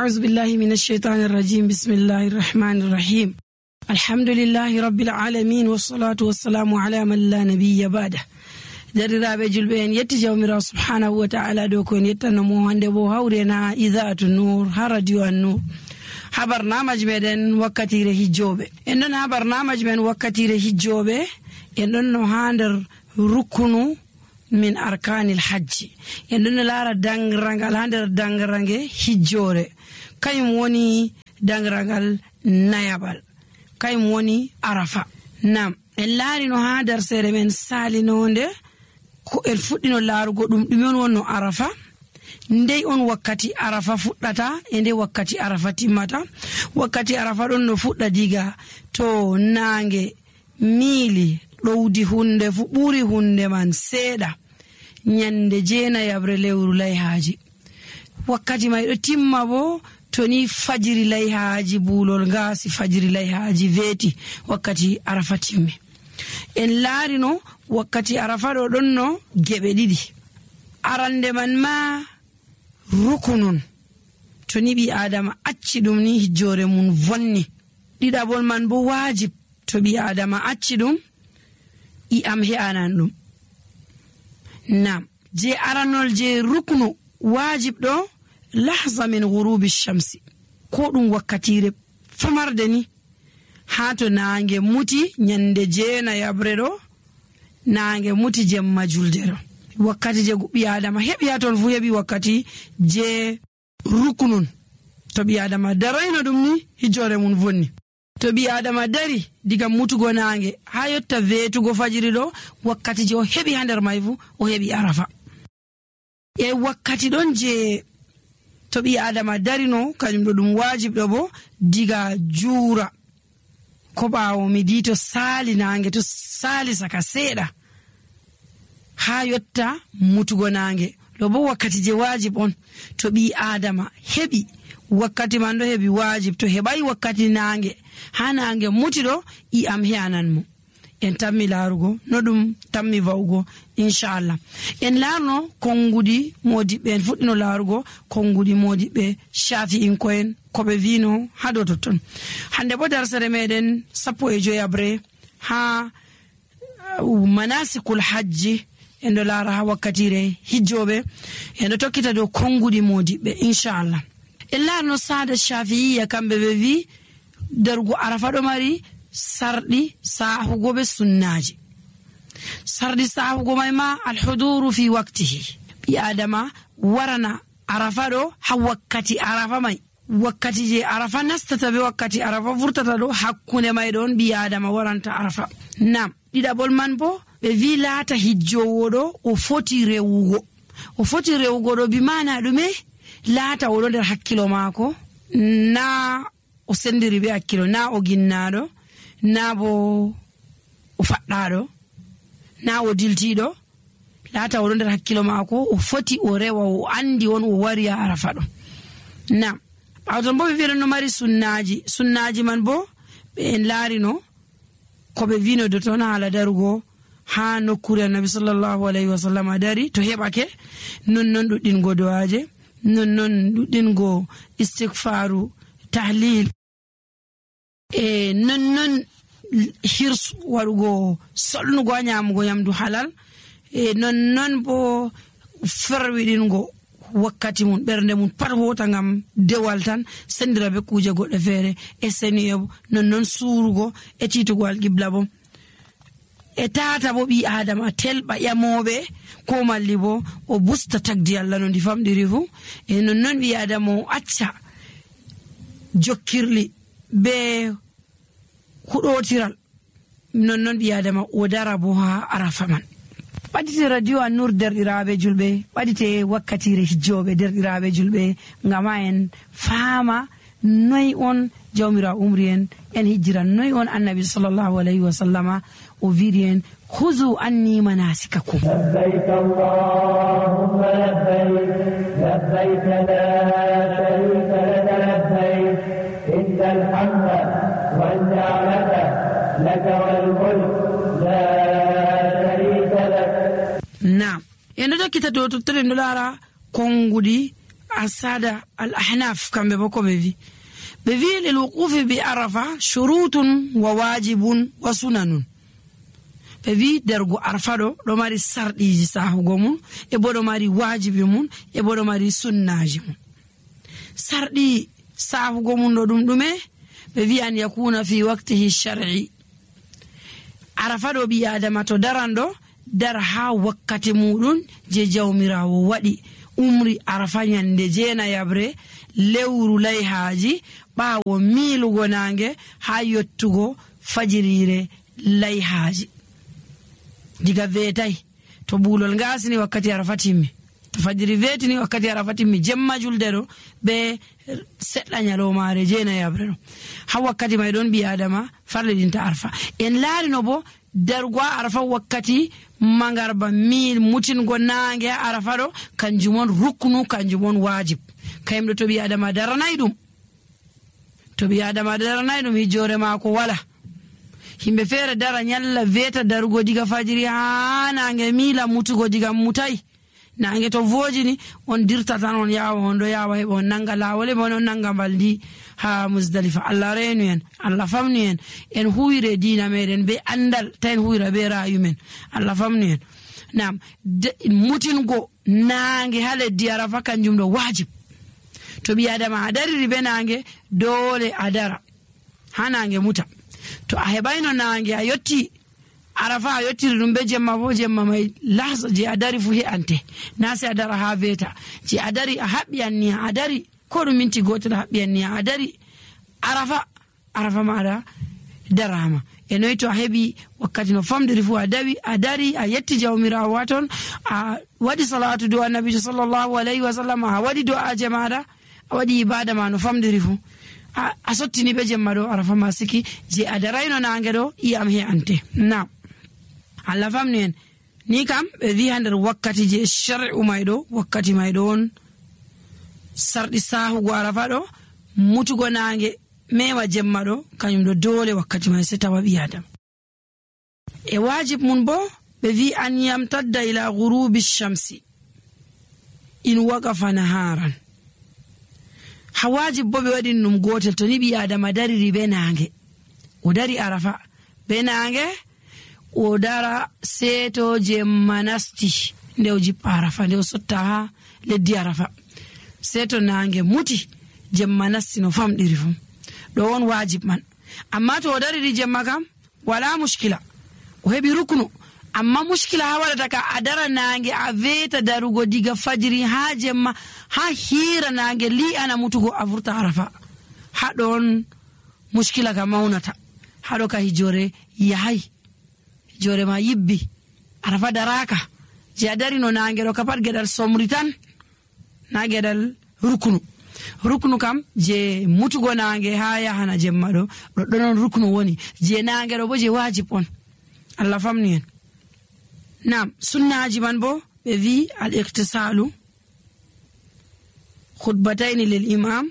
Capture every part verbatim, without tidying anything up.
أعوذ بالله من الشيطان الرجيم بسم الله الرحمن الرحيم الحمد لله رب العالمين والصلاة والسلام على من لا نبي بعده درiraɓe julɓe en yetti jawmirawo subhanahu wa ta'ala dow ko en yettanomo hande bo hawrena idaatu nour ha radio an nour ha barnamaji meɗen wakkatire hijjoɓe en ɗon ha barnamaji men wakkatire hijjoɓe en ɗon no ha nder rukunu min arkanil hajji en ɗon no laara dangragal ha nder dangrange hijjore kayum woni dangragal nayaɓal kayum woni arafa nam en laari no ha nder sere men salinonde ko en fuɗɗino laarugo ɗum ɗume on wonno arafa ndey on wakkati arafa fuɗɗata e nde wakkati arafa timmata wakkati arafa ɗon no fuɗɗa diga to naange miili ɗowdi hunde fu ɓuri hunde man seeɗa nyande jeenayabre lewru layhaaji wakkati may ɗo timma bo to ni fajiri layhaaji buulol ngaasi fajiri layhaaji weeti wakkati arafa timmi en laari no wakkati arafa ɗo ɗon no geɓe ɗiɗi arande man ma rukunun to ni ɓi adama acci ɗum ni hijjore mum vonni ɗiɗaɓol man bo wajib to ɓi adama acci ɗum i am he'anan ɗum nam je aranol je ruknu wajib ɗo lahza min ghurubi shamsi ko ɗum wakkatire famarde ni ha to naange muti nyande jeena yabre ɗo naange muti jemma julde ɗo wakkati je ɓi adama heɓi ha ton fu heɓi wakkati je ruknun to ɓi adama darayno ɗum ni hijjore mum vonni to ɓi adama dari diga mutugo naange ha yotta veetugo fajiri ɗo wakkati je o heɓi ha nder may fu o heɓi arafa e wakkati ɗon je to ɓi adama darino kañum ɗo ɗum wajib ɗo bo diga juura ko ɓaawo midi to saali naange to saali saka seeɗa ha yotta mutugo naange ɗo bo wakkati je wajib on to ɓi adama heɓi wakkati man ɗo heɓi wajib to heɓai wakkati naange ha naange muti ɗo i am he'anan mo en tammi laarugo no ɗum tammi va'ugo inchallah en laarno konngudi modiɓɓe en fuɗɗino laarugo konngudi modiɓɓe shafi'in ko'en koɓe vino ha dow totton hande bo darsere meɗen sappo e joyabre ha manasikul hajji en ɗo laara ha wakkatire hijjoɓe en ɗo tokkita dow konngudi modiɓɓe inchallah en laarno saada shafi'iya kamɓe ɓe vi darugo arafa ɗo mari sarɗi sahugo be sunnaji sarɗi sahugo may ma alhuduru fi waktihi ɓi adama warana arafa ɗo ha wakkati arafa may wakkati je arafa nastata be wakkati arafa vurtata ɗo hakkunde may ɗon ɓi adama waranta arafa nam ɗiɗaɓol man bo ɓe vi laata hijjowo ɗo o foti rewugo o foti rewugo ɗo bi mana ɗume laata oɗo nder hakkilo maako na o sendiri be hakkilo na o ginnaɗo na bo o faɗɗaɗo na o diltiɗo laata oɗo nder hakkilo maako o foti o rewa o andi on o wari ha arafa ɗo nam ɓawton bo ɓe wiɗon no mari sunnaji sunnaji man bo ɓe en laarino koɓe vino do toon haala darugo ha nokkure annabi sallallahu alayhi wa sallam dari to heɓake nonnon ɗuɗɗingo do'aje nonnon ɗuɗɗingo istighfaru tahlil e nonnon hirsu waɗugo solnugo ha nyamugo nyamdu halal e nonnon bo ferwiɗingo wakkati mum ɓernde mum pat hota ngam dewal tan sendira be kuje goɗɗe feere e seniye bo nonnon suurugo e titugo alqibla bo e tata bo ɓi adama telɓa ƴamoɓe ko malli bo o busta tagdi Allah no ndi famɗiri fu e nonnon ɓi adama o acca jokkirli be huɗotiral nonnon ɓi adama o dara bo ha arafa man ɓaɗite radio an nour derɗiraɓe julɓe ɓaɗite wakkatire hijjoɓe derɗiraɓe julɓe ngama en faama noy on jawmira umri en en hijjiran noy on annabi sallallahu alayhi wa sallama o wiiri en huzu anni manasikakum labbayk allahumma labbayk labbayk la sharika laka labbayk innal hamda wan ni'mata laka wal mulk la sharika lak. Naam en ɗo tokkita dow totton en ɗo laara konngudi asada al ahnaf kambe boko be vi be vi lil wuqufi bi arafa shurutun wa wajibun wa sunanun be vi dergo arafa do do mari sardiji sahugo mun e bodo mari wajibi mun e bodo mari sunnaji mun sardi sahugo mun do dum dume be vi an yakuna fi waqtihi shar'i arafa do bi adama to darando dar ha wakkati mudun je jawmirawo wadi umri arafa nyande jena yabre lewru layhaji bawo milugo nange ha yottugo fajirire layhaji diga vetay to bulol ngasini wakkati arafa timmi to fajiri vetini wakkati arafa timmi jemma julde do be sedda nyalo mare jena yabre no ha wakkati may don bi adama farle dinta arafa en laari no bo dargwa arafa wakkati mangarba mil mutin go nange arafa do kanjumon ruknu kanjumon wajib kayimdo to bi adama daranay dum to bi adama daranay dum hijore mako wala himbe fere dara nyalla veta darugo diga fajiri ha nange mila mutugo diga mutai nange to vojini on dirta tan on yawa hondo yawa hebo nanga lawole bono nanga baldi ha Muzdalifa Allah renu en Allah famni en en huire dina meden be andal tan huira be rayu men Allah famni en nam mutin go nange hale di arafa kanjum do wajib to bi adama adari be nange dole adara hanange muta to a hebayno nange a yotti arafa a yottiri dum be jemma bo jemma may lahza je adari fu he ante nasi adara ha veta je adari a habbi anni adari ko dum minti goto habbi anni adari arafa arafa mara darama e noy to hebi wakkati no famdiri fu adawi adari a yetti jawmira waton a wadi salatu do annabi sallallahu alaihi wasallam a wadi do a jamaada a wadi ibada ma no famdiri fu a sottini be jemma do arafa masiki je adarayno nange do iyam he ante na Allah famni en ni kam be wi hander wakkati je shar'u maydo wakkati maydo on sardi sahu go arafa do mutugo nange mewa jemma do kanyum do dole wakkati may se tawa bi adam e wajib mun bo be wi an yamtadda ila ghurubi shamsi in waqafa naharan hawajib bo be wadi num gotel to ni bi adama dari ribe nange o dari arafa be nange o dara seto je manasti ndew ji arafa ndew sotta ha leddi arafa seto nange muti je manasti no famdiri fu do won wajib man amma to o dari ri jemma kam wala mushkila o hebi ruknu amma mushkila ha wala ka adara nange a veta darugo diga fajiri ha jemma ha hira nange li ana mutugo avurta arafa ha don mushkila ka maunata ha do ka hijore yahay hijore ma yibbi arafa daraka je adari no nange do kapat gedal somritan na gedal ruknu ruknu kam je mutugo nange ha ya hana jemma do do don ruknu woni je nange do bo je wajib on Allah famni en nam sunnaji man bo be vi al iktisalu khutbatayn lil imam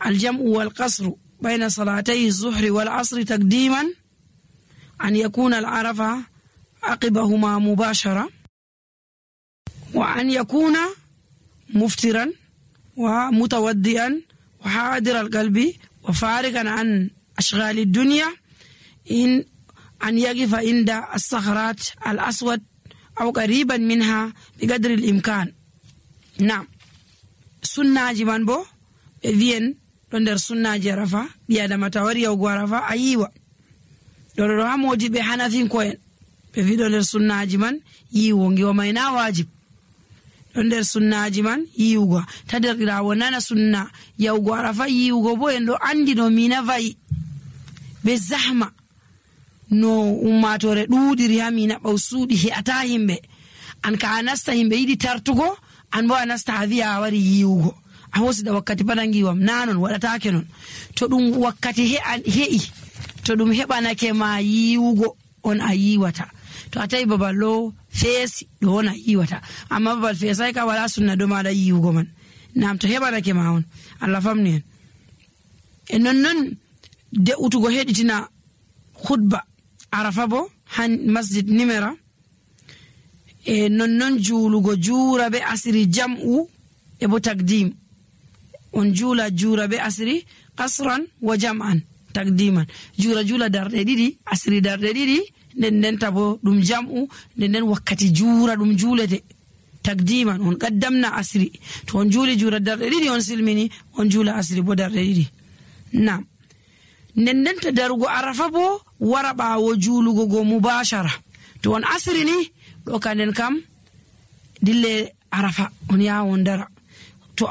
al jam'u wal qasr bayna salatay az-zuhr wal 'asr taqdiman an yakuna al arafa aqibahuma mubashara wa an yakuna muftiran wa mutawaddian wa hadir al qalbi wa farigan an ashghal ad dunya in أن يقف عند الصخرات الأسود أو قريبا منها بقدر الإمكان. نعم سنة جمان بو بيين دندر سنة جرفا بيادا متوري أو غرفا أيوة دندر هموجي بحنفين كوين بفي دندر سنة جمان يوونغي ومينا واجب دندر سنة جمان يوغا تدر راونانا سنة يو غرفا يوغو بو يندو عندي نو مينا فاي بزحمة no ummatore duudiri hamina bawsuudi he ata himbe an ka anasta himbe yidi tartugo an bo anasta hawiya wari yiwugo a hosida wakkati padangiwam nanon wadata kenon to dum wakkati he an hei to dum hebanake ma yiwugo on a yiwata to atay babalo fesi do on a yiwata amma babal fesay ka wala sunna do mala yiwugo man nam to hebanake ma on Allah famni en e non non de utugo heditina khutba arafa bo han masjid nimera e non non julugo jura be asiri jam'u e bo takdim on juula jura be asri qasran wa jam'an takdiman jura jula darde didi asri darde didi nden nden tabo dum jam'u nden nden wakkati jura dum julete takdiman on qaddamna asri to on juli jura darde didi on silmini on jula asri bo darde didi nam nden nden ta darugo arafa bo wara bawo julugo go mubashara to on asri ni do kanen kam dille arafa on ya on dara to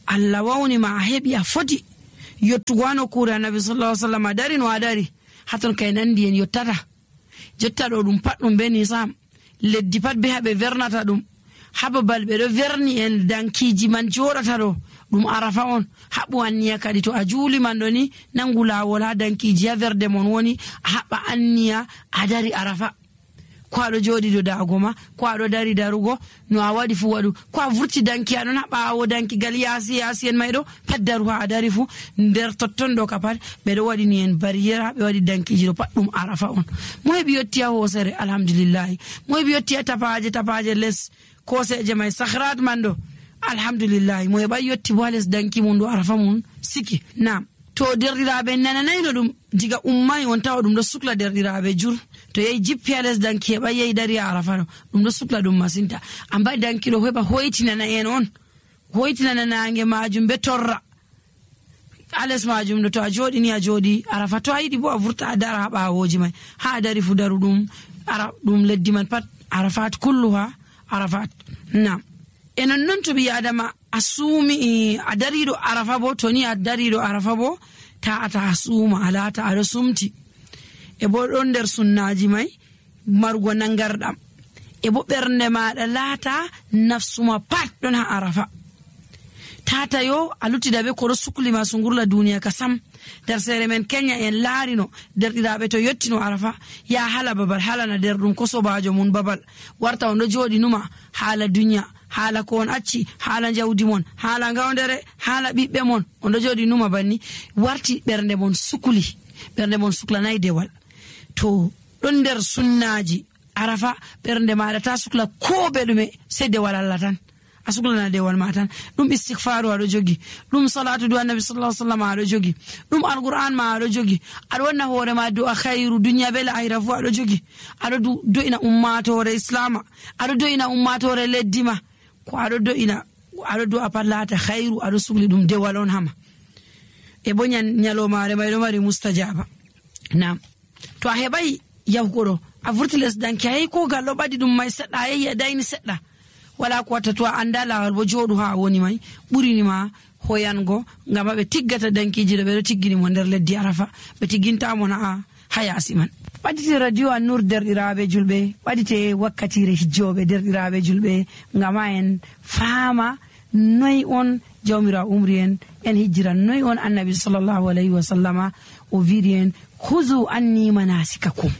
Allah wawni ma hebi a foti yottugo ano kura nabi sallallahu alaihi wasallam dari no adari haton kay nandi en yottata jotta do dum pat dum beni sam leddi pat be habe vernata dum hababal be do verni en dankiji man jodata do dum arafa on habu anniya kadi to a juli man do ni nangula wala dankiji ya verde mon woni haba anniya adari arafa ko ado jodi do dagoma ko ado dari darugo no a wadi fu wadu ko a vurti danki adon haba o danki gal yasi yasi en maydo paddaru ha adari fu nder totton do kapat be do wadi ni en barriere be wadi danki jiro pat dum arafa on moy bi yotti ho sere alhamdulillah moy bi yotti tapaje tapaje les ko seje may sakhrat mando alhamdulillah moy ba yotti wales danki mun do arafa mun siki nam to derdirabe nananayno dum diga ummay on taw dum do sukla derdirabe jur to yey jippi ales danki ba yey dari arafa dum do sukla dum masinta amba danki do heba hoitina na en on hoitina na nange majum be torra ales majum do to a jodi ni a jodi arafa to ayidi bo a vurta dara ba woji may ha dari fu daru dum ara dum leddi man pat arafat kulluha arafat nam enon non to bi adama asumi adarido arafa bo to ni adarido arafa bo ta ata asuma alata ado sumti e bo don der sunnaji may margo nangardam e bo bernde maada lata nafsuma pat don ha arafa tata yo aluti dabe ko sukli ma sungurla duniya kasam der sere men Kenya en larino der didabe to yottino arafa ya hala babal hala na der dum ko sobajo mun babal warta on do jodi numa hala dunya hala ko on acci hala jawdi mon hala ngawndere hala bibbe mon on do jodi numa banni warti bernde mon sukuli bernde mon sukla nay dewal to don der sunnaji arafa bernde ma ta sukla ko bedume se dewal Allah tan asukla na dewal ma tan dum istighfaru ado jogi dum salatu do annabi sallallahu alaihi wasallam ado jogi dum alquran ma ado jogi ado wonna hore ma do khairu dunya bel akhirah fu ado jogi ado do ina ummatore islama ado do ina ummatore leddima ko ado do ina ado do apallata khairu ado sugli dum dewal on hama e bo nyan nyalo mare may do mari mustajaba nam to a hebay yawgodo a vurtiles danki ay ko gallo badi dum may sedda ay dayni sedda wala ko wata to andala bo jodu ha woni may burini ma hoyango ngam be tiggata dankiji do be tiggini mo der leddi arafa be tigginta mo na hayasi man badite radio an-nur derdirabe julbe badite wakkati re hijjobe derdirabe julbe ngama en fama noy on jawmira umrien en hijra noy on annabi sallallahu alaihi wasallama o virien khuzu anni manasikakum